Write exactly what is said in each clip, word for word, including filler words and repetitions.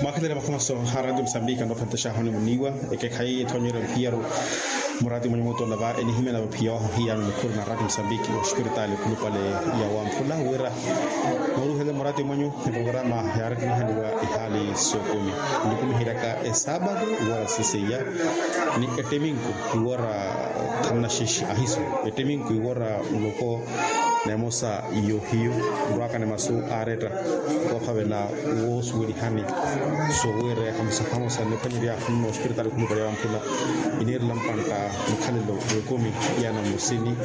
Mwakhelele makhumaso a ratio musambiki anoophentexaho ni muniiwa. Ekekhayi ethoonyerya mphiyaru muraati mwenye mutola va enihimya na vaphiya wahu hiyano mukhuru na ratio musambiki ospiritaali okhulupale ya wamphula wira nooruhele muraati mwenyu. Eprograma yaarattinihaniwa ihaali sookumi nikumiheryaka esaapatu iwora siseiya ni ettiminku iwora thannaxixi ahisu ettiminku iwora muloko na emosa yohiyu nrwaka ni masu aaretta koophavela woosuwelihani soowiireya hamosa hamosa nniphwanyerya nno ospiritaali okhulupale ya wamphula iniirela mpantta mukhalelo w'ekumi ya namusini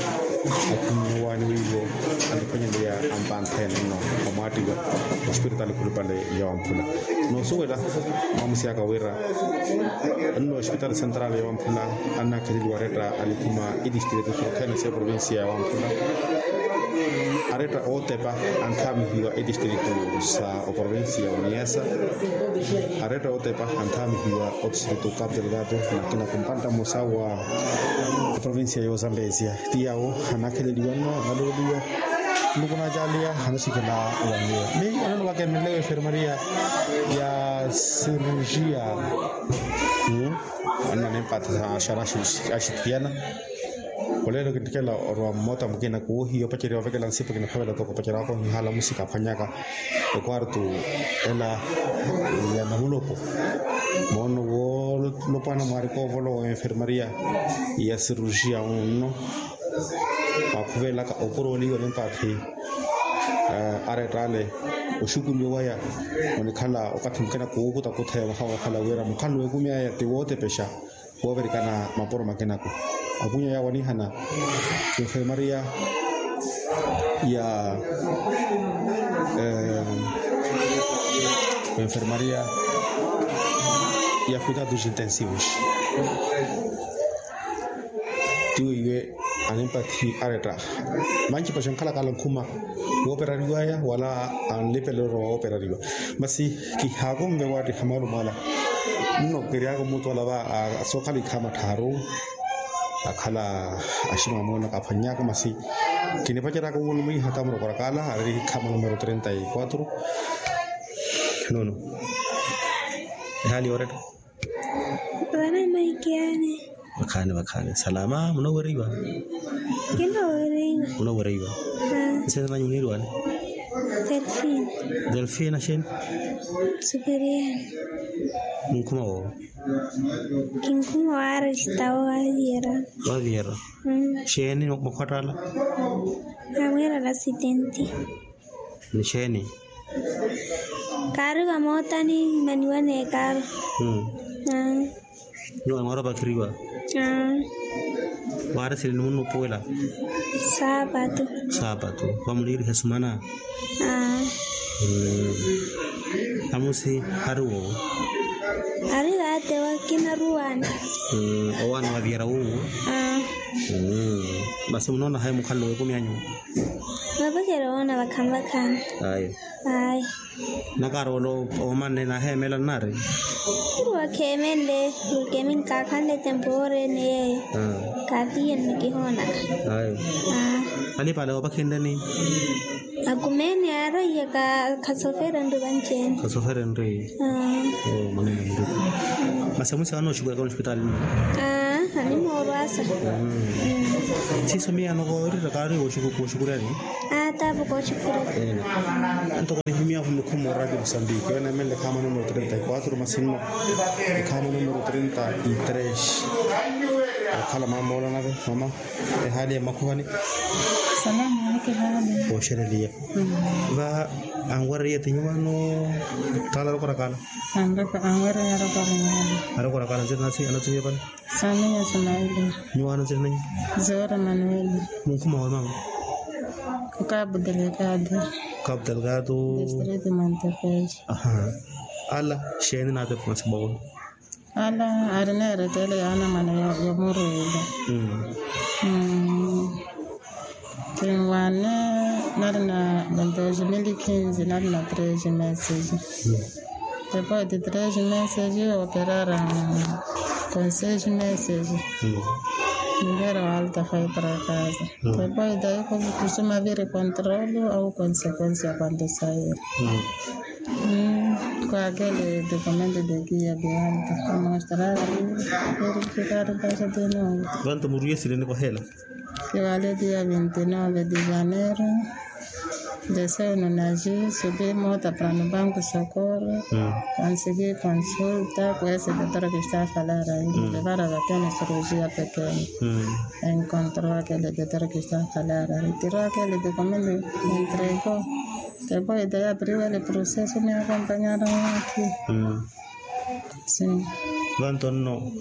akhunnyiwaani wiivo aniphwanyerya ampanthene nno omwaattiwa ospiritaali okhulupale ya wamphula noosuwela mwamusi aka wira nno ospitali sentrali ya wamphula annakheleliwa aretta alikhuma itistritu sothene sa eprovinsiya ya wamphula aretta ootepa anthaamihiwa itistritu sa oprovinsiya ya oniasa aretta ootepa anthaamihiwa otistritu capu delgado na akina kumpantta mmosa wa eprovinsiya ya ozambesia ti yawo annakheleliwa nno analooliwa nluku nacaaliya anaxikhela wanyiwa mi anono vakemelewa enfermaria ya cirurgia. Anna nimpatha xana axithiyana olelo kinthikela orwa mmota mukina kuwohiya opaceriwa ovekela nsipu kiniphavela toko opaceriwaka ohihala musika aphwanyaka ekwartu ela ya namulopo moono wolopwana mwaari koovolowa enfermaria ya cirurgia unno mwakhuvelaka opuroliwa nimpathi aretta ale oxukuliwa waya onikhala okathi mukina kuwukuta kutheya mwaha wokhala wira mukhalano w'ekumi aya ti wootepexa woovirikana mapuro makinako akunya yawo anihana enfermaria ya enfermaria ya cuidados intensivos tiwo iwe animpathi aretta manci paxa nkhalakala nkhuma wooperariwaya wala anlipelelo wooperariwa masi kihaakonve waattiha malumo ala nno kiryaka omutu ala va sookhala ikhama tthaaru akhala aximamweno kaphwannyaka masi kinipaceryaka wuwo numwiiha tamurokorakala ari ikhama numero trenta y quatro nono ehaali yooretta. Vana maikiyani. Vakhaani vakhaani salama munoweriwa. Kinoweriwa. Munoweriwa. Nsina nanyu muniiriwani? Delfina. Delfina xeeni? Superiani. Munkhuma woowo? Kinkhuma waaresta waviyera. Waviyera. Xeeni makhwattala? Amweerela asidenti. Ni xeeni? Kaari vamoota ni maniwa n'ekaaro. Nyuwo mwaari opakiriwa? Waari sini ni munnupuwela? Saapatu. Saapatu. Vamuliiriha esumana? Amusi ari woowo? Ari vaatewa kinaruwaani. Owaani waviyera wuwo? Masi munoona hayi mukhalelo w'ekumi anyu? Mapacelo woona vakhaani vakhaani. Ayo. Ayo. Nakaari ole omanne naheemela nnaari? Iri wakheemenle. Keminkakhanle tempoore ni yeeyo. Kaatiye nnikihoonaka. Ayo. Alipale oopakhenleni? Akumeeni aaraiye. Khasofere nri vanci-ene. Khasofere nri. Masi amusi aana oxukuraka onxipitali? Animoorwasa. Siiso miyaano koorira kaari woxukurani? Aa taavo kooxukurani. Ntoko nihimyahu mukhuma oradio musambiki oyo neemenle ekhaama numero trenta y quatro masi nno ekhaama numero trenta y tres. Okhala mama oolana ve mama. Ehaali ya mmakhuhani? Salama. Kooxereliya. Va anwereriya ti nyuwaano? Taala arokorakala. Anwereriya arokorakala. Arokorakala nzina nasi anatimiya pani? Samiya sumaili. Nyuwaano nzina nanyu? Zora manueli. Munkhuma wa mama? Okabu delgado. Okabu delgado. District montepeji. Ala xeeni naatepa masi mwawono? Ala ari neerettele yaana mwana yomurwiile. Kinwaane nari na doze mili kinzi nari na treze meses. Depois de treze meses operara konseis meses. Nivera walta fai para kaza. Depois daiko kusuma viri kontrolu au konsekonsia kuanto sairi. Kwakele dokumento de kia de alta. Kamostrari. Verifikari pasa de novo. Vantu muriye sileni kwa hela. Kiwale dia vinti nove de janero. Deseo no naji subi mota para no banku sokoro. Kansigi konsulta kwesi dotora kista falara. Levara vakene surujiya pekeni. Enkontro akele dotora kista falara. Ritiro akele dokumento. Entrego. Te poi de ya priwele proseso mi akompanyara waki. Vantu onno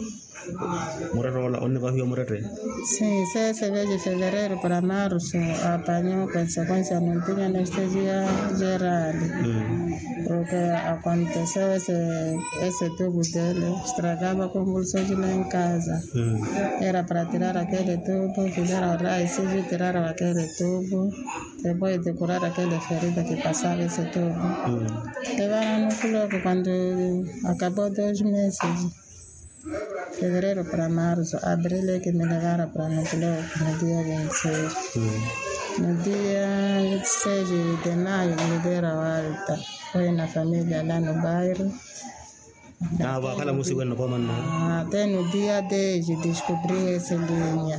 mureroola onnivahiwa mureree. Sii seese veji fevereru para marusu apanyo konsekonsia nuntinya nesteji ya jerali. Porke akonteseo ese tuku tele strakava konvulsio jilenkaza. Era para tirara kele tuku filera ora esiji tirara wakele tuku. Te poi de kurara kele ferida kipasava ese tuku. Evana nukuloku kwandu akabo dos meses. Fevereru para marusu abrile kimilevara para nukuloku no dia vinti seis. No dia vinti seis de mayo milivera walta. Foi na familia la no bairo. Avo akhala musikwene nokomanna. Te no dia dez deskubriwe ese linya.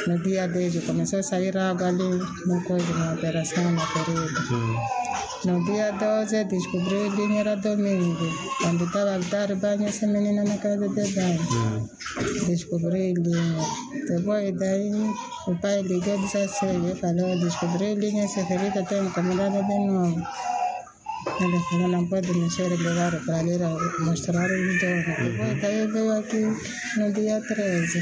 No dia dez komeseo saira agali. Nokozi na operasion na ferida. No dia doze deskubriwe linya era domingo. Kwandu tava altari banyo ese menina na kazi de banyo. Deskubriwe linya. Te poi dai upai linya disa seye falo deskubriwe linya ese ferida te nkomelada de novo. Ele falo na mpwede ni sere levaro para lera mostraro idona. Te poi dai vewaki no dia treze.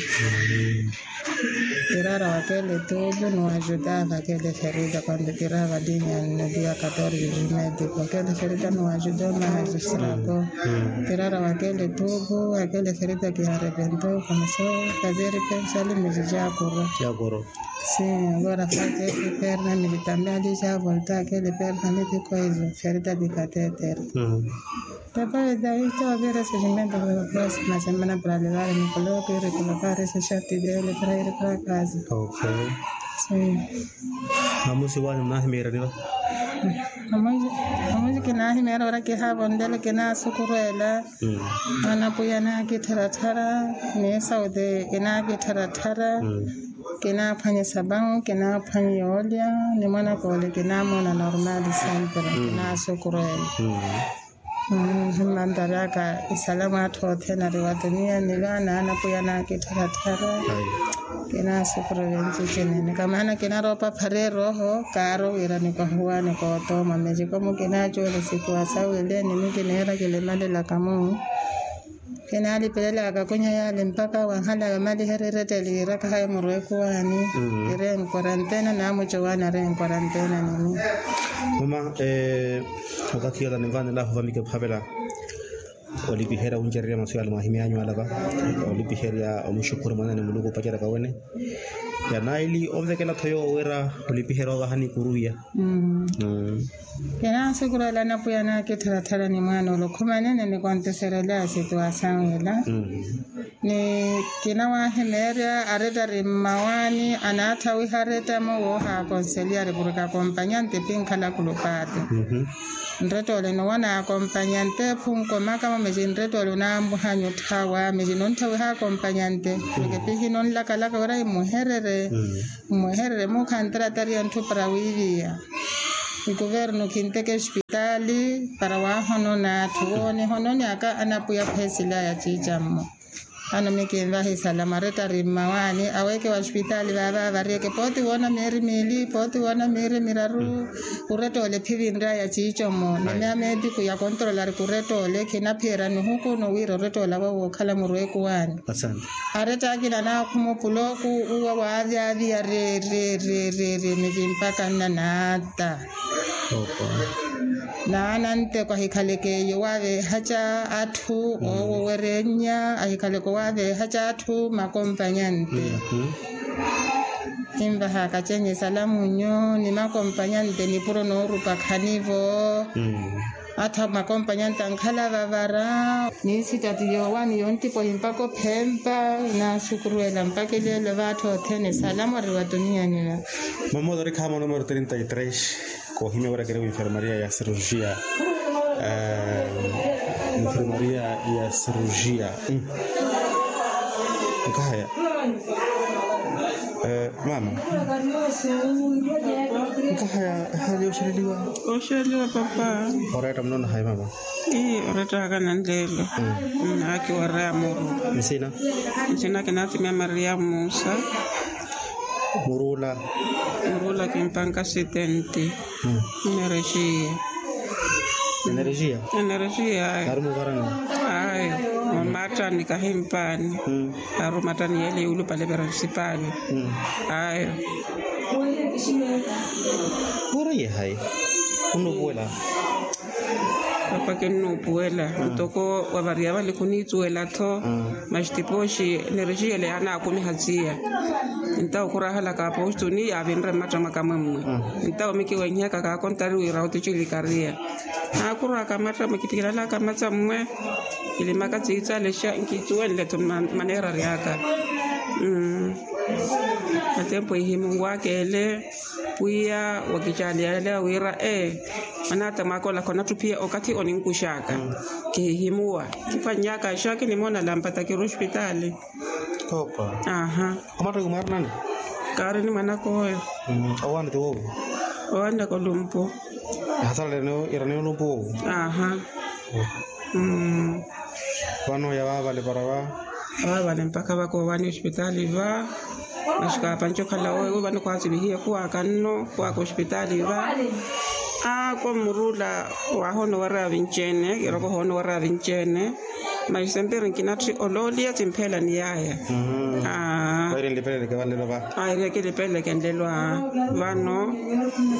Tirara wakele tubu no ajudava kele ferida kwandu tirava linya no dia katorze de medi wakele ferida no ajudo na ajistrako. Tirara wakele tubu wakele ferida ki arevento komeso kazeri pensali miji jakuro. Jakuro. Sim agora fate eki perna miji tambe ali javolta kele perna miji koizo ferida di kateter. Te poi dai to vira sejimento para proxima semana para levar mi koloki iri koloka iri seshati dele para iri para kazi. Sim. Namusi wani mnahimira niva. Namusi kinaahimira ora kihavondele kinasukurwela. Mwana puya nakittharatthara. Ni saude inakittharatthara. Kinaphwanya sabawu kinaphwanya yoolya. Ni mwana kole kinamona normal sempre kinasukurwela. Mmantaraka isalamu atthu othene ari wa tuniya ni vaana anapuya nakittharatthara. Kinasukuru venci cinene kamaana kinaroopa phara erooho kaaro wira nikohuwani kootooma mecikomu kinacuwela sikuwa sawileni ni kiniira kilemalelaka mu. Kinalipelelaka kunya yale mpaka wanhala yamalihererete liiraka hayi murwekuwani. Ire nkorantena namucowani are nkorantena nini. Mama, wakathi yola nimvanelahu vamike phavela olipiherya wuncererya masu yale mwahimyanyu alava. Olipiherya omuxukhuri mwanene muluku opaceraka wene. Yanaili onvekela tho yowo wira olipiherya ovaha nikuruya. Kinasukurwela napwiya nakittharatthara ni mwaana ole okhumanene nikonteserelya asituwasawu ela. Ni kinawahimeerya aretta ari mmawaani anaathawiha aretta-mo woohaakonselya ari purke akompanyante pinkhala kulupaati. Nretta ole nowana akompanyante phunkoma kamo meci nretta ole onambuhanya otthawa meci nonthawiha akompanyante. Purke pihi nonlakalaka wira imuherere. Mmuherere muukha ntaratari ya ntthu para wiiviya. Ikuvernu khinteke ospitaali para waahonona atthu woonihononi aka anapwiya phesilaya ciicammo. Ano mikinvahi salama aretta ari mmawaani aweeke wa ospitaali vaava variyeke pooti woona mieri miili pooti woona mieri miraru. Oretta ole phivinryaya ciicammo ni meya meetiku ya kontrola ari koretta ole khinaphiyerya nihuku nowira oretta ole awe wookhala murweekuwaani. Aretta akina anaakhuma opulooku uwa waavyaavya reereereereere meci mpaka nnanaata. Naana nteko ahikhaleke iyo waaveehaca atthu oowowerennya ahikhaleke owaaveehaca atthu makompanyante. Kinvahaka cenye salamunyu ni makompanyante nipuro noorupa khanivo. Atthu makompanyante ankhala vavara. Ni sitati yoowani yontipo himpaka ophempa. Inasukuruwela mpaka ileelo vaatthu othene salamu ari wa tuniya nina. Mamoto ori khamo numero trinta y tres. Koohimya wira kiri winfermaria ya cirurgia. Enfermaria ya cirurgia. Nkahaya. Mama. Nkahaya hali oxeleliwa. Oxeleliwa papa. Oretta mnono hayi mama. Oretta aka nanlelo. Akiwareya muru. Nsina. Nsina kinatimia maria musa. Murula. Murula kimpanka sitenti. Enerexiya. Enerexiya. Enerexiya ayo. Ari muvarani. Ayo. Omattani kahimpani. Ari omattani yele yulupale pera nsipali. Ayo. Wara yehayi. Unupuwela. Papa kinnuupuwela ntoko wavariya vale khuniithuwela-tho. Masi tipooxi enerexiya ele yaanaakumiha txiya. Ntawo khurahalaka apoxtuni yaavinre mmatta mwaka mwe mmwe. Ntawo mikiwenhiyaka kaakontari wira oticili kariya. Naakhurwaka mmatta mwe kitikilala kamatsa mmwe. Kilimaka tsiitsalexa nkithuwenle-tho. Maneera aryaka. Atempo ihimuwaka ele. Pwiya wakicaliyaleya wira ee. Manaata mwaka ola khonatthu phiya okathi oninkuxaka. Kihihimuwa. Kiphwannyaka axaaki nimoona lampata kiri ospitaali. Opa. Aha. Omattaki mwaari nani? Kaari ni mwanaka oyo. Owaana ti woowo? Owaana kolumpu. Ehasalaleneyo iraneyo olumpu woowo. Aha. Vano yavaavale para va. Avaavale mpakha vakoowaani ospitaali va. Masi kaapanci okhala oyo vano khwaasivihiye khuwaaka nno khuwaaka ospitaali va. Aa kommurula. Waahoona owareya vinci-ene kiroko ohoona owareya vinci-ene. Masi sempiri nkinatthi olooliya timpheela ni yaaya. Aa. Aireke nlipeleleke vanlelo va. Aireke nlipeleleke nlelo aa. Vano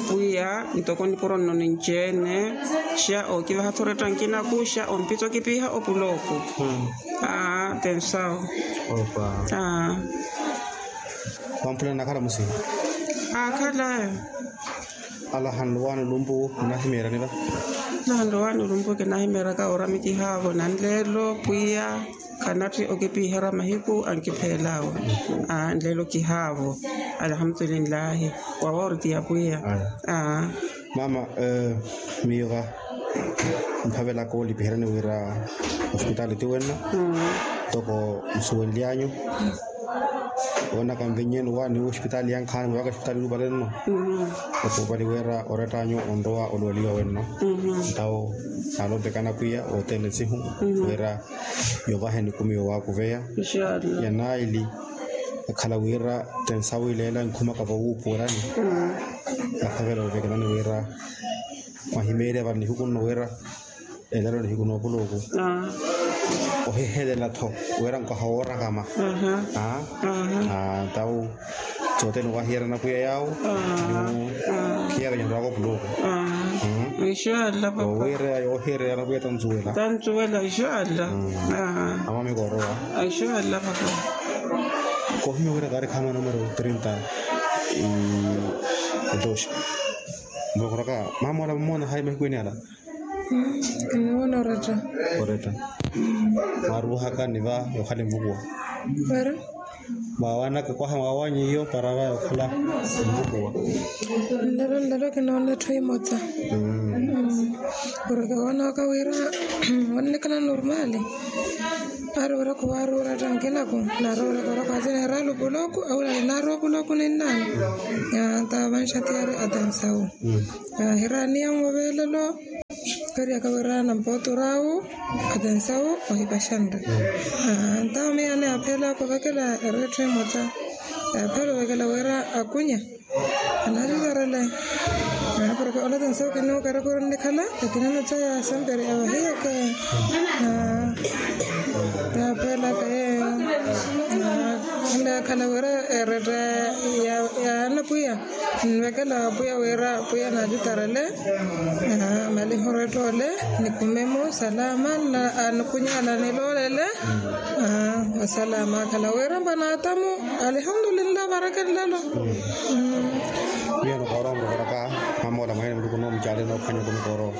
pwiya ntoko nipuro nno ninci-ene. Xa ookivaha-tho oretta nkinaku xa ompitha okipiha opulooku. Aa tensawo. Aa. Vamphulani nakhala musihi. Aakhala. Alahanluwaani olumpu munahimeerani va. Alahanluwaani olumpu kinahimeeraka oramikihaavo nanleelo pwiya. Khanatthi okipiherya mahiku ankipheelaawe. Aa nleelo kihaavo. Alhamdulillahi. Wawoortiya pwiya. Aa. Mama, miyo va mphavelaka olipiheryani wira ospitaali ti wenno. Ntoko nsuwenly'anyu. Woonaka nvennyeni owaani ospitaali yankhaani mwaaka ospitaali yulupale nno. Okupali wira orett'anyu onrowa oluweliwa wenno. Ntawo naalompekana pwiya wothene nsihu wira yovaheni ekumi yowaakuveya. Yanaili akhala wira tensawileela nkhumaka vowuupuwelani. Nakhavela ovekelani wira mwahimeerya vano nihiku nno wira elelo nihiku noopuluku. Ohihelela-tho wira nkoha woorakama. Ntawo sothene owahiyerya anapwiya yaawo. Khiyaka nirwaka opuluku. Owirya yoohiyereya anapwiya tansuwela. Tansuwela ixalla. Amamikorowa. Ixalla papa. Kohimya wira kaari khaama numero trinta e dos. Mbokoraka mamola mmoona hayi mahikwini ala. Kinoona oretta. Oretta. Mwaruuhaka ni va yokhala envukuwa. Wari. Mwawanaka kwaha mwawanyi iyo para va yokhala envukuwa. Nlelo nlelo kinoona etthu imotsa. Porke woonaka wira wannikhala normali. Ari wira khuwari oretta nkinaku. Nari wira khuwari khwaasinera lupulooku awira nari opulooku ninnaani. Ntawo vanxati ari atensawu. Ahiraniya nwo velelo. Kariaka wira nampootor'awo atensawo ohipaxanre. Ntawo miyo anaaphelaka ovekela eretthu emotsa. Yaaphela ovekela wira akunya. Anaacitarele. Porke ole atensawo kinuuka eretthu onnikhala lakini emotsa ya semperi avahiyaka. Yaaphela kaye. Ole akhala wira eretta ya anapwiya. Nvekela wa pwiya wira pwiya naacitarele. Maliho oretta ole nikumemo salama. Nikunyala niloolele. Wa salama akhala wira mba naatamu. Alihamdulillah baraka nlelo. Miyo nikoorowa murokoroka mamola mwaene muluku noomucale noophwanya kunikoorowa.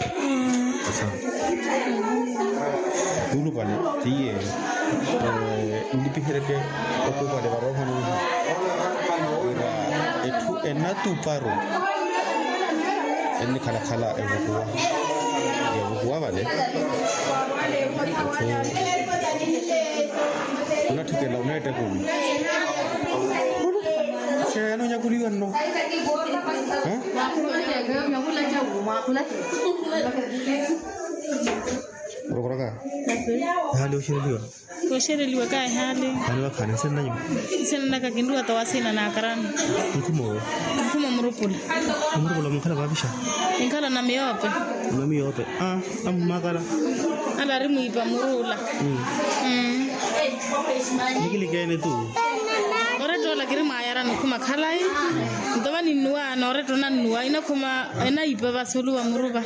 Yulupale tiye. Nlipiheryeke okupale varoohani wira etthu enatuparu ennikhalakhala evukuwa. Evukuwa vale. Onatthikela oneetta ekumi. Xeeni onyakuliwa nno? Murokoraka. Ehaali oxereliwa. Oxereliwa ka ehaali. Ehaali wakhaani nsenna nyuma. Nsenna naka kinruwa towasina na akarani. Nkhumo. Nkhumo murupula. Murupula munkhala vavixa. Nkhala na miyope. Na miyope. Ah, amumakala. Ala ari mwipa murula. Nikilikeene tu. Oretta ola kiri mwayara nikhuma khalayi. Ntova ninnuwa nooretta onannuwa inakhuma. Enayipa vasulu vamuruva.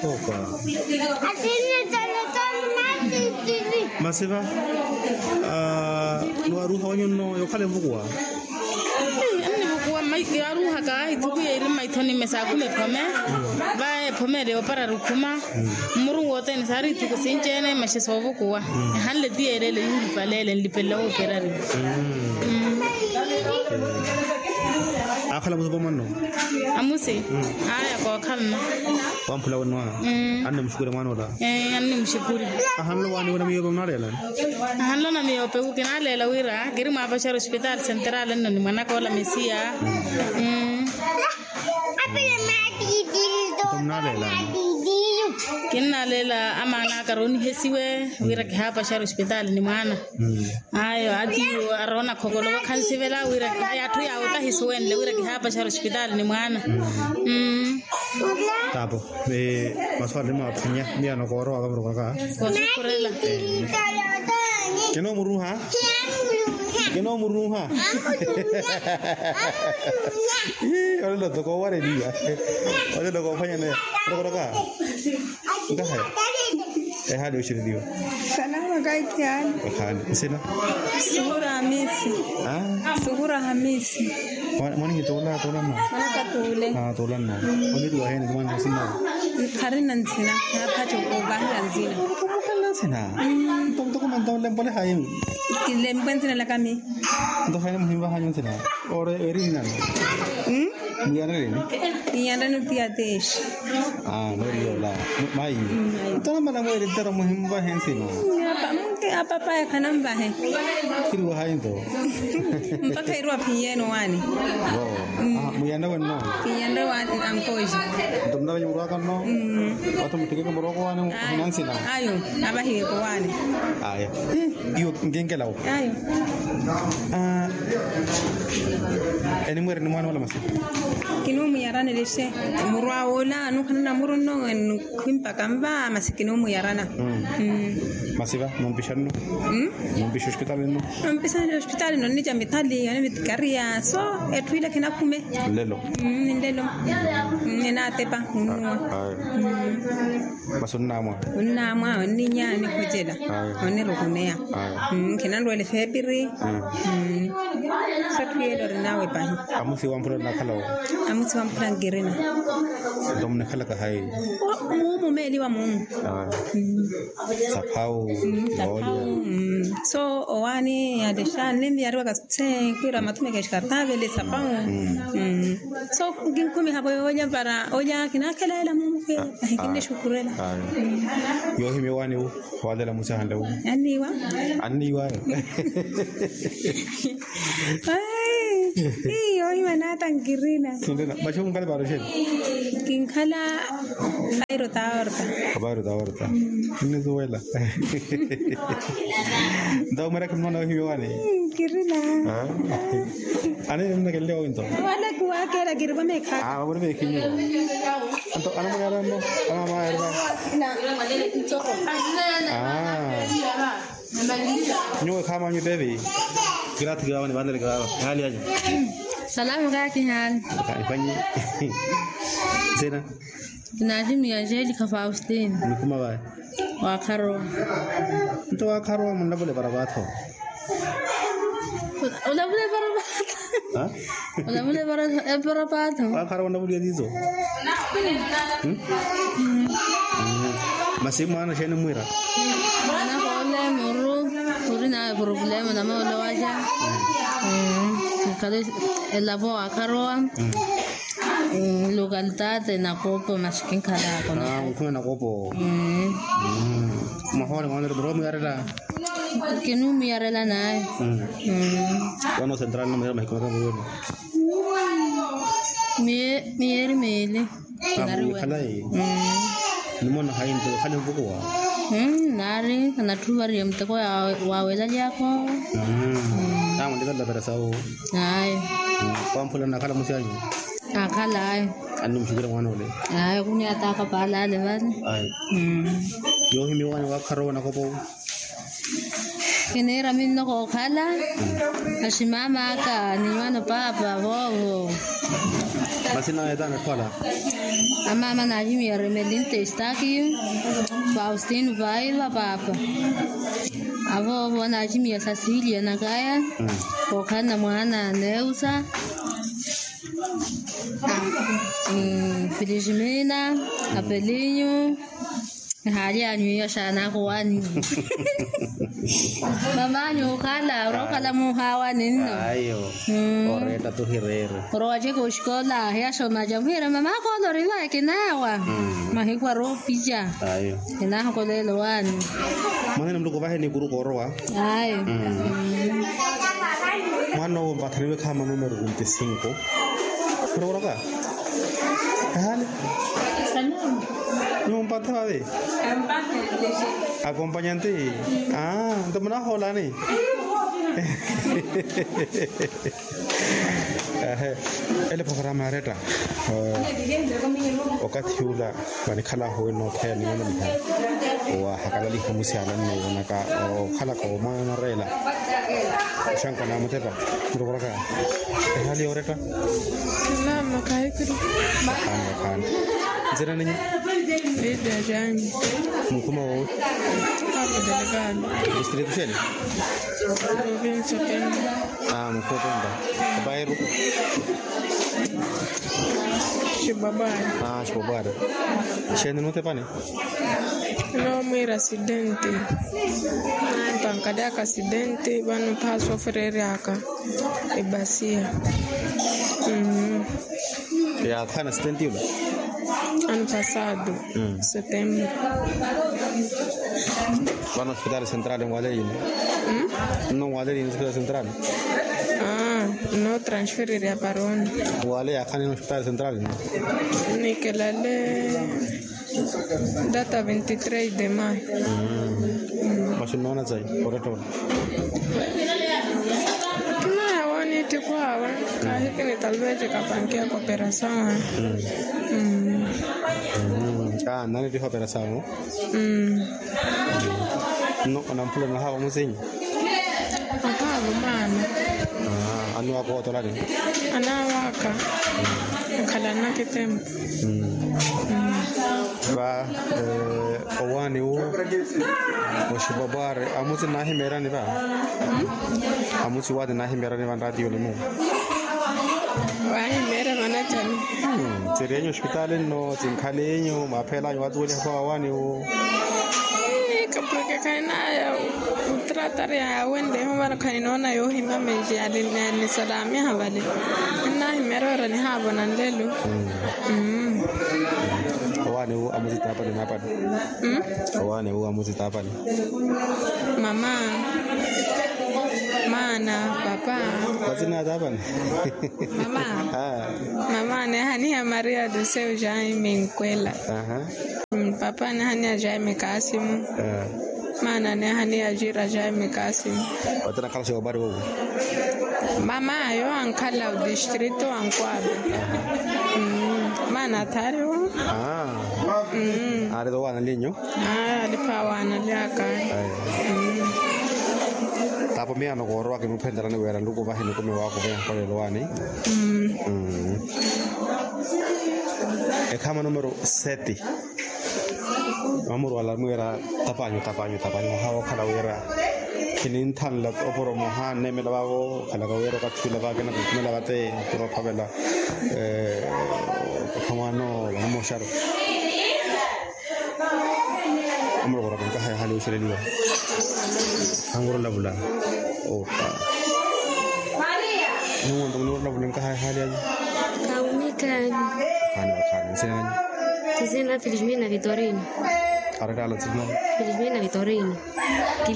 Opa. Masiva. Niwaruuha wanyu nno yokhala evukuwa. Annivukuwa yaaruuhaka ithuku yeeri mmaithoni mme saakhume ephome. Va ephome ele yoopara rukhuma. Mmurungu othene saari ithuku sinci-ene maxe soovukuwa. Ehanle ti yeeleele yuulipaleele nlipelela wooperari. Aakhala musupo mwanno. Amusi. Aya kookhalana. Wamphula wenno. Annimuxukuri mwaana ola. Annimuxukuri. Ahanlo waani wena miyope munaleela. Ahanlo na miyope wu kinaleela wira kiri mwaapaxari ospitaali senterali nno ni mwanaka ola mesiya. Nto munaleela. Kinnaleela amaana aka aroonihesiwe wira kihaapaxari ospitaali ni mwaana. Ayo atiiwo aroona khokolowa khansivela wira. Atthu yaawo tahi suwenle wira kihaapaxari ospitaali ni mwaana. Taapo. Maswali ni mwaphwanya miyano koorowaka murokoraka. Koosukhurela. Kinomuruha. Kinomuruha. Olelo toko owareliwa. Olelo koophwanyaneya. Murokoraka. Nkahaya. Ehaali oxereliwa. Salama kaikhiyani. Ehaali nsina. Suhura hamisi. Suhura hamisi. Mwanihituula tuula nno. Mwanakatuule. Tuula nno. Oniriwa heni ni mwana nsina. Kharina nsina. Naaphaca ovahela nsina. Ntoko manto nlempole hayi. Nlempwe nsina lakami. Nto hayi muhimvahanyu nsina. Ore eri nani? Muyanreleni. Iyanrani utiya teshi. Noriyola. Mayi. Ntona mana mweerettero muhimvahe nsina. Apapa yakhanamvahe. Khiriwa hayi nto. Mpakha iriwa phiyeno wani. Muyanre wenno. Piyanre wani ankoji. Nto mnavenye murwaka nno. Watho muttikeke murwaka wani. Ayo. Avahiweko wani. Ayo. Iyo nkenkelawo. Ayo. Enimweereni mwaana ola masi. Kinuumuyarana elexe. Murwa ola anukhanana muru nno. Khwimpaka nva masi kinuumuyarana. Masi va mumpixa nno. Mumpixa ospitaali nno. Mumpixa ospitaali nno nnica mitali yone mitikariya so etthu ile khinakhume. Nlelo. Nlelo. Enaatepa nnuwa. Masi onnaamwa. Onnaamwa onninya onikhocela. Onirukuneya. Khinanrwele feepiri. Satthu yeela orinawe pahi. Amusi wamphula onakhala wo. Amusi wamphula nkirina. Nto munikhalaka hayi. Muumu meeliwa muumu. Saphawu. Saphawu. So owaani yalexa nninviyariwaka se khwiira mathumeke exkartavele saphawu. So kinkhumiha vo olya para olya kinakheleela muumu. Ahikinne xukurela. Yoohimya owaani wu. Khwaalela musahanle wu. Anniiwa. Anniiwa ayo. Iyo imanata nkirina. Maxi munkale para oxeeni. Kinkhala. Pairo taorta. Pairo taorta. Nisuwela. Nto mweraka mwana wahimiwani. Nkirina. Ani nnakelele wawinto. Wala kiwakela kiriwa mekha. Wamuri mekhinyo. Anto anamuri arano. Anamuri arano. Nyuwe khamanyu tevi. Kirathi kirawa ni vanele kirawa hali anyu. Salamu kaki hali. Kaifanyi. Sena. Kinatimiya angelica faustine. Nikuma vayi. Wakharowa. Nto wakharowa munlavule varavatho. Olavule varavatho. Olavule varavatho. Wakharowa onlavule tizo. Masi mwaana xeeni mwira. Mwaana koole muru. Uri nawe problema na maolowaxa. Khale. Elavo wakharowa. Lokalitaate nakopo masi kinkhalaka. Mukhuma nakopo. Mwahoole mwahoole muromuyarela. Kinumuyarela naye. Wano sentral numuyarela mahiku maka muyoni. Miyeeri miili. Khalayi. Nimona hayi nto khale mvukuwa. Naari anatthu variye muteko wa welalyako. Namwendeka ntapera sawo. Ayi. Kwamphula nakhala musiyanyu. Akhala ayi. Anni muxukira mwaana ole. Ayi khuniya taaka paala ale vale. Ayi. Yohimiwa ni wakhara owo nakopo. Kiniira minno kookhala. Aximama aka ni nwana paapa voovo. Masina etaana khwala. Amama naximiya remelinte estakiyu. Faustino vaiva paapa. Avoovo naximiya sasilia nakaya. Kookhalana mwaana neusa. Filiximina. Apelinyu. Ehaali anyu iyo xaanaka owaani. Mamanyu okhala orokhala muhawa ninno. Ayo. Oretta tuhireere. Orowaceka oxikola hiyaxomaca muhira mamaka ole orivaye kinawa. Mahiku aropica. Ayo. Kinahokolela owaani. Mwanene muluku vahe ni kuruka orowa. Ayo. Mwana owo mpathaniwe khama numero vinte cinco. Khurowolaka. Ehali. Nyuwo mpatha vave. Akompanyante. Nto munahoolani. Ele programa ya retta. Okathi ula vanikhalaahu wino othaya ni wino niha. Owahakalaliha musiala nno wonaka okhalaka omwana oreela. Oxanko namutepa. Murokoraka. Ehali yoretta. Mama kahikiri. Akhana akhana. Nzira ninyi. Lidia jani. Mukhuma wowi. Apo delegado. Distrito xene. Provincia pemba. Mukhuma pemba. Bairro. Xibabwari. Xibabwari. Xene nutepani. Nomwiira asidenti. Mpankali aka asidenti vano phaha sofereryaka. Ebasiya. Yaathana asidenti yula. Ano pasado. Setembro. Vano hospitali central nwaleyini. Nno nwaleyini hospitali central. Nno transfererya paroni. Wale yakhani hospitali central. Nikelale. Data veintitrés de mayo. Masi nnoona tsayi orettona. Kinaya woniittikhu awe. Kahikini talvez kapankiya kooperasawe. Aa nnanittiha ooperasawe. Nno onamphula nahaava musinyi. Ahaava maana. Annuwaka ootolani. Anaawaka. Akhalana kitempo. Va owaani wu oxipopwari amusi naahimeerani va. Amusi waati naahimeerani va nraatiyoni mu. Waahimeera manacani. Tsiriyenyu oxipitaali nno tsinkhalinyu mwaaphelanyu waatuweliha khwa wawaani wu. Kapureke khaninaya. Otratarya awenle ehumana khaninoona yoohimya menji yali. Nisalamiha vale. Ninnahimeera ora nihaavona nlelo. Owaani wu amusi taapani naapani. Owaani wu amusi taapani. Mama. Maana papa. Matsina ataapani. Mama. Mama neehaniha maria doseu jaime nkwela. Papa neehaniha jaime kasimu. Maana neehaniha jira jaime kasimu. Otinakhala xewabari wowo. Mama yo ankhala odistrito ankwaba. Maana athari wo. Aari towaana linyu. Aliphawa analyaka. Tapo miyano koorowa kimuphenderani wira nluku vahi nikumiwaka oveha nkolelo wani. Ekhama numero seti. Vamurwala mwira tapanyu tapanyu tapanyu ohawa okhala wira. Khininthanla oporomoha nnemela vavo khalaka wira okathi ula vakina kukhumela vate. Kira ophavela. Okhamwano vanamoxaro. Amulokora kunkaha yahaali oxeleliwa. Anguro lavula. Opa. Nungo nto munuro lavula nkaha yahaali anyu. Khani. Khani, khani. Nsina nyu? Nsina Felizmina Vitorino. Arettala nsina nyu? Felizmina Vitorino.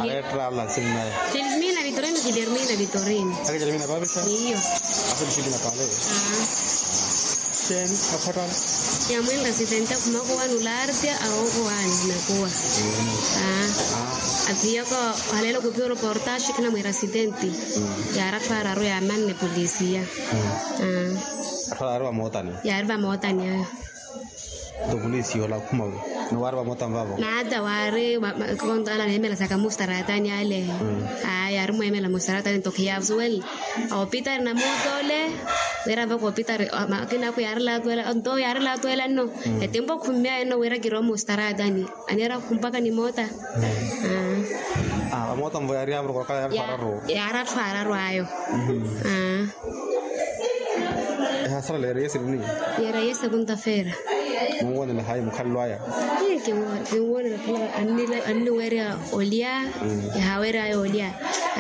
Arettala nsina nyu? Felizmina Vitorino, Guilhermina Vitorino. Ake Guilhermina papisha? Iyo. Afelizmina pale. Aa. Teni aphata? Yamwinla sitenta khumako wani ulaartya awo khowani nakuwa. Aa. Aphiyaka. Haleelo khuphiwa reportaxi khinamwiira sitenti. Yaari athwararu yamanne polisiya. Aa. Athwararu amootani? Yaari vamootani ayo. Nto polisiya ola akhuma wi? Ni waari vamootani vavo? Naata waari konto ala neemela saka mustaratani ale. Aa yaari mweemela mustaratani nto khiyasuwela. Opitari na mootole. Wira vaka opitari. Akina ako yaari laatwela nto yaari laatwela nno. Etempo khumya enno wira kirowa mustaratani. Aniira khumpaka ni moota. Aa. Vamoota mvo yaari yaari athwararu ayo. Aa. Ehasala leereye sirini? Yeereye sekunta feera. Munwoonela hayi mukhalelo aya? Kinwoonela khula anniweerya olya. Ehaaweerya ayo olya.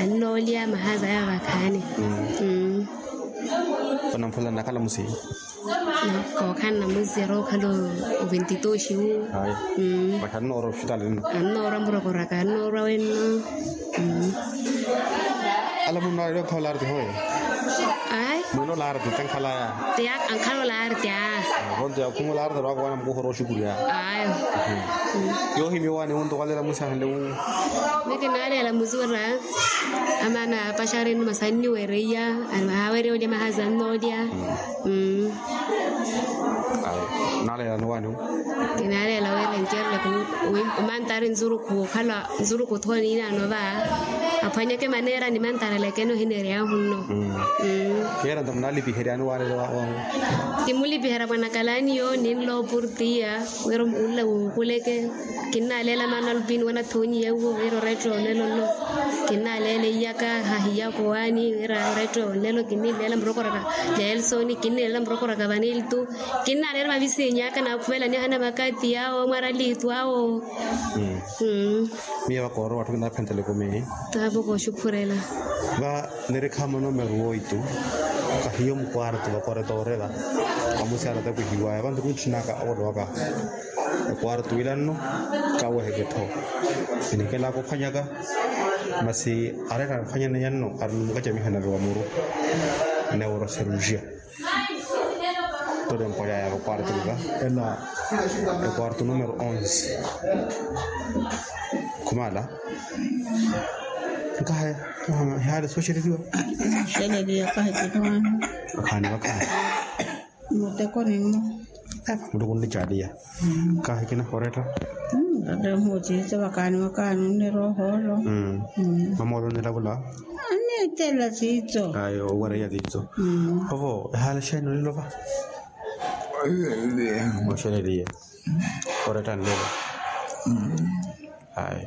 Annoolya mahaza aya vakhaani. Panamphula nnakhala musi? Kookhala namusi yaari okhala oventitoxi wu. Ayi. Masi annoora oxitali nno? Annoora murokoraka annoora wenno. Ala munno aari okhala olaarti hoye? Ayi. Munno olaarti tankhalaya? Tiya ankhala olaarti a. Vonto yakhuma olaarti lwakowana mukuhora oxukuliya. Ayo. Yoohimya owaani wunto waleela musi ahanle wu? Miki naaleela musi wira. Amaana apaxari nno masi anniweereiya. Ahaaweerya olya mahaza annoolya. Naaleela nowaani? Kinaaleela wira ncerele omantari nzurukhu okhala nzurukhu thoni inaano va. Aphwanyeke maneera ni mantarelekene ohineeryahu nno. Yeera nto munaalipiheryani waaleela wa? Kimulipiherya mwanakalaani yo ninla opurtiya. Wira omuulla wuukuleke. Kinnaaleela maana alupini wanathonyiye uwo wira oretta onelo nno. Kinnaaleela iyaka hahiyaka owaani wira oretta onelo kinnileela murokoraka. Nelson kinnileela murokoraka vaniltu. Kinnaaleela mavisinyaka naakhuvelani ahana makati awo mwaralitu awo. Miyo vakoorowa atthu kinaphentela ekumi. Taavo kooxukhurela. Nirikhaama onomeru woitu. Kahiyo mukwartu vakoretoorela. Amusi anatakuhiwaya vantu kuntthunaka avolowaka. Ekwartu ila nno. Kaweheke tho. Enikelaka ophwanyaka. Masi areta aphwanyaneya nno arinumukacamiha naviwa muru. Neuro serugia. Tole mpwaya ya vakwartu ela. Ekwartu numero onze. Khumala. Nkahe. Hihale soxereriwa. Soxereriwa kahe. Vakhaani vakhaani. Muteko nimmo. Muteko nnicaaliya. Kahe kinakhoretta. Muteko mutitso vakhaani vakhaani nnirohoolo. Mamoolo nnilavula. Annittela titso. Ayo owereya titso. Ovo ehale xeeni onilova? Oxereriya. Oretta nlelo. Ayi.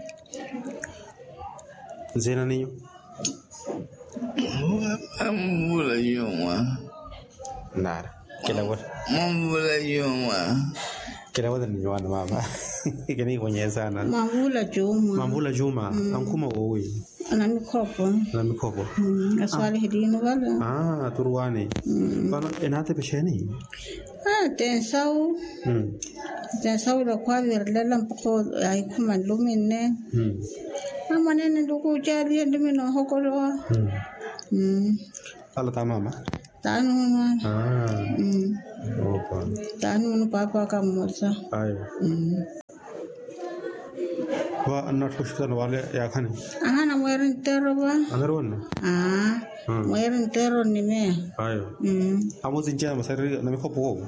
Nzina ninyu? Mvula yuma. Nara. Mvula yuma. Kilavula ninyu wana mama. Kinikhonyeye sana. Mavula juma. Mavula juma. Ankhuma wowi? Namikhopo. Namikhopo. Aswalihilini vale. Turuwani. Vano enatepexeni? Tensawu. Tensawu lakhwavirilela mpakha ahikhuma nlumi nne. Amwanene nluku ocalihe nlumi noohokolowa. Ala ta mama? Tanuunu. Tanuunu paapa aka mmosa. Ayo. Va annatthu oxukhutana wale yaakhani? Aha namweeri nteero va. Ameeri wanne? Aa. Mweeri nteero nnimeya. Ayo. Amosi nci ana masariri namikhopo wowo?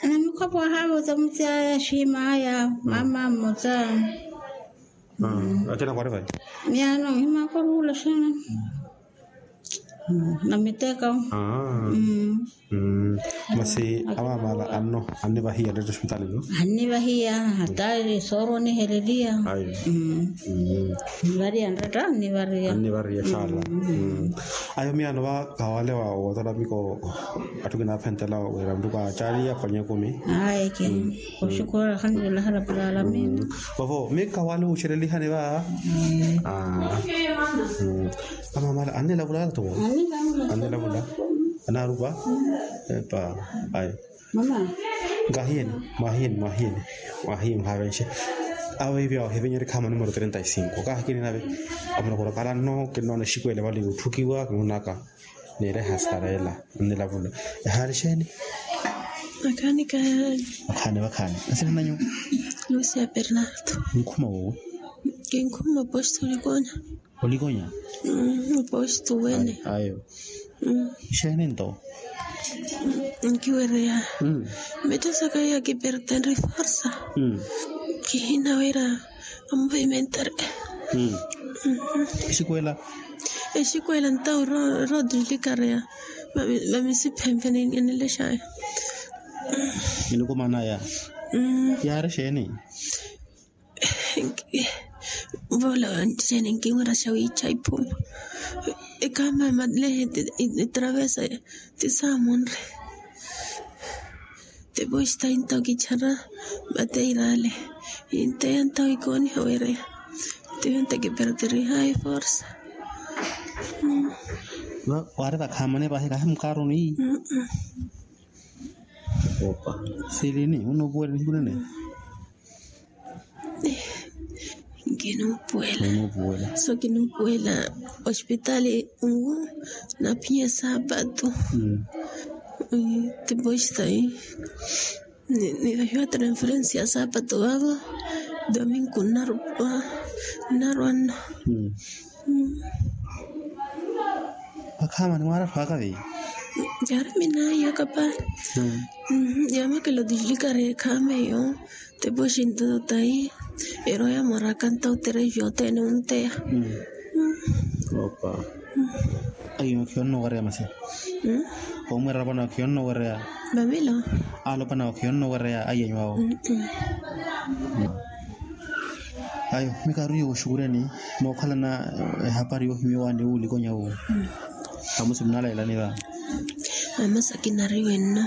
Namikhopo ahaavosa musi aya xiima aya mama mmosa. Akina khwari vayi? Miyaano ohimaka oruula xina. Namiteka. Masi amamala anno annivahiya nretta oxipitali no? Annivahiya hata sooro oniheleliya. Annivariya nretta annivariya. Annivariya xaala. Ayo miyaano va kawale wa wotola miko atthu kinaphentela wira muttuku acaaliya aphwanya ekumi. Ayi. Oxukhurela alhamdulillahi rabbil alamin. Vavo mika wale wuxerelihani va. Amamala annilavula ata towo? Annilavula. Anaarupa. Epa. Ayi. Nkahiyeni, mwahiyeni mwahiyeni, mwahiyeni mwahavenxe. Awe ivyo ahivenyeri khaama numero trenta y cinco kaahikini nave. Amunokoro kala nno kinnoona exikuwele vale yuutthukiwa kinnoonaka. Niire ehasarela nnilavula. Ehaari xeeni? Vakhaani kahaani. Vakhaani vakhaani. Nsina nanyu? Lucia bernardo. Nkhuma wowo? Kinkhuma posto likonya. Olikonya? Oposto wene. Ayo. Xeeni nto? Nkiwereya. Mettho saka ya kipertenri forsa. Kihina wira amovimentari. Exikuwela? Exikuwela ntawu rootulikareya. Vamisiphempe ninilexaya. Nilikumanaya. Yaari xeeni? Voola wanttixeni nkinwira xa wiicha iphuma. Ekaama malehe. Etravesa ti saamonre. Tipoxita inta okichara. Mateirale. Inteya nta oikooniha wereya. Tiyo nta kiperterihayi forsa. Waari vakhaamani pahi kahi mukaaroni. Opa. Silini unuupuwela nihiku nene? Nkinuupuwela. Unuupuwela. So kinuupuwela. Ospitali nwu naphiya saapatu. Tipoxita. Nivahiwa transferensi ya saapatu vaavo. Domingu nnarwa nno. Vakhaamani mwaaratthu aka vei? Yaari minaayi aka pahi. Yaamakela otilikareya ekhaama eyo. Tipoxinto tayi eroya moraka nta oterevi othene onteya. Opa. Ayo khiyonno owereya masi. Omwera vano khiyonno owereya. Vamilo. Alopana khiyonno owereya ayenyu awo. Ayo mikaaru yooxukureni. Mookhalana ehapari yoohimiwa ni wuulikonya wuwo. Amusi munalailani va? Amasaki nariwe nno.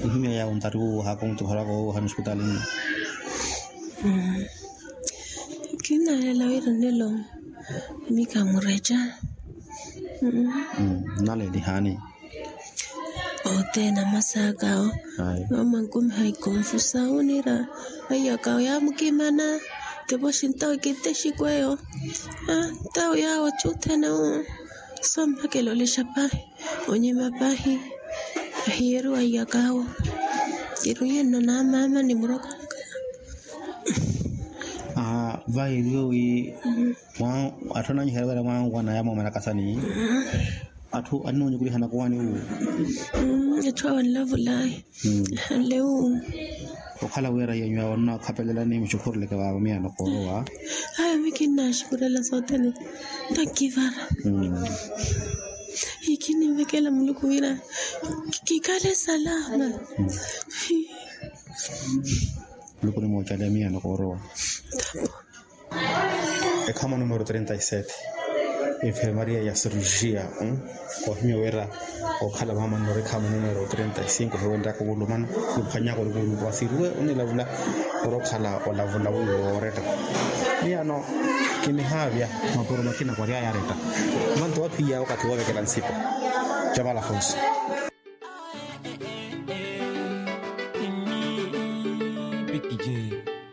Ihimya yawo ntari wuwo haakomutukhoraka wuwo hano ospitalinno. Kinnalela wira nelo. Mika mureca. Nalelihaani. Othene amasakawo. Mama nkumiha ikonfusa wunira. Aiyakawo yaamukimana. Tipoxi ntawo kitte exikweyo. Ntawo yawo othene wu. Sommakela olexa pahi. Onyima pahi. Ahiyeriwa aiyakawo. Iruyenno na mama ni murokaka. Vayi iriwe wi. Atthu ananyiherya wira mwaanwana yamoomana kasani. Atthu aninoonyukulihana kuwani wu. Etthu awo anlavulayi. Anlewu. Okhala wira yenyu awo nnakhapelela ni muxukhuruleke vaavo miyano koorowa. Aya mi kinnaxukhurela sothene. Ntakivara. Ikininvekela muluku wira kikale salama. Muluku ni moochale miyano koorowa. Ekhamu numero trenta y sete. Enfermaria ya cirurgia. Ohimya wira okhala mama nnori ekhamu numero trenta y cinco hiwenryaka okulumana. Niphwanyaka olukuluku asiruwe onilavula. Ori okhala olavula wiwo wooretta. Miyano kinihaavya mapuro makina kwaryaya aretta. Manto waphiyaya wakathi woovekela nsipa. Javala fonso.